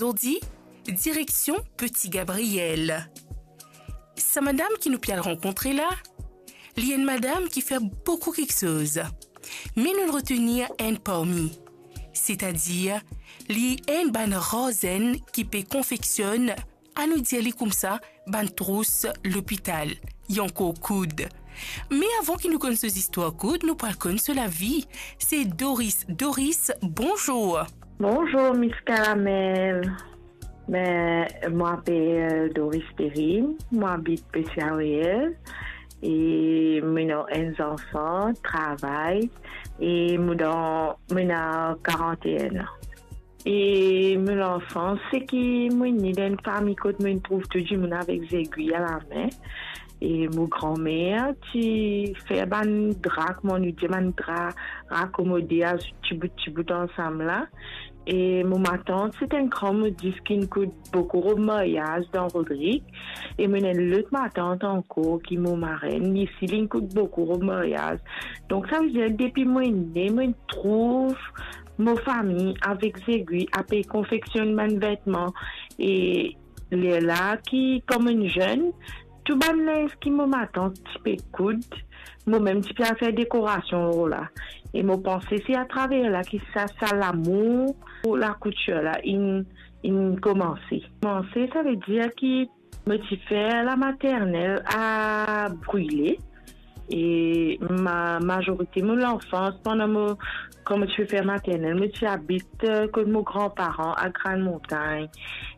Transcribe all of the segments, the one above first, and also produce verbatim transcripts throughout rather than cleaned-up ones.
Zordi, direksion Petit Gabriel. Sa madam ki nou pe al rankontre la, li enn madam ki fer boukou kiksoz. Me nou retenir enn parmi, setadir li enn bann rar zenn ki pe konfeksionn, anou dir li koumsa, bann trous lopital, li ankor koud. Me avan ki nou konn so zistwar koud, nou pou al konn so lavi. Se Doris. Doris, bonzour. Bonzour, Miss Caramel. Ben, mo apel Doris Perrine, mo abit Petit Gabriel, e mo ena enn zanfan, travay, e mo dan, mo ena karant-e-enn an. E mo lanfans, se ki mo ne dan enn fami kot mo trouv tou dimoun avek zegwi alame. E mo granmer ti fer bann dra, kouma nou dir, bann dra rakomode, azout tibout tibout ansam la. E mo matant, se enn gran modis ki koud boukou rob maryaz dan Rodrig. E mo ena enn lot matant ankor ki mo marenn, li osi li koud boukou rob maryaz. Donk, savedir, depi mo ne, mo trouv mo fami avek zegwi, ape konfeksionn bann vetman. E lerla ki, kouma enn zenn, tou bann linz ki mo matant ti pe koud, mo mem ti pe al fer dekorasion lor la. E mo panse se atraver la ki sa, sa lamour pou lakoutir la inn, inn koumanse. Koumanse, savedir ki mo ti fer lamaternel a brile. E ma-, mazorite mo lanfans, pandan mo, kan mo ti pe fer maternel, mo ti abit, eh, kot mo granparan a Grann Montagn.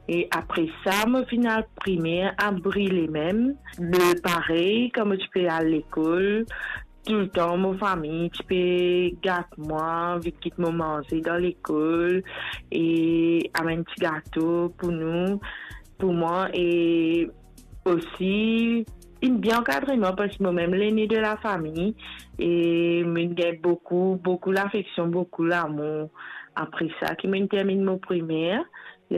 E apre sa, mo finn al primer a brile mem. Me parey, kan mo ti pe al lekol, toultan mo fami ti pe gat mwa, vinn kit mo manze dan lekol, e amenn ti gato pou nou, pou mwa, e osi inn bien ankadre mwa, parski mo mem lene de lafami, e mo gagn boukou, boukou lafeksion, boukou lamour. Apre sa, ki mo terminn mo primer,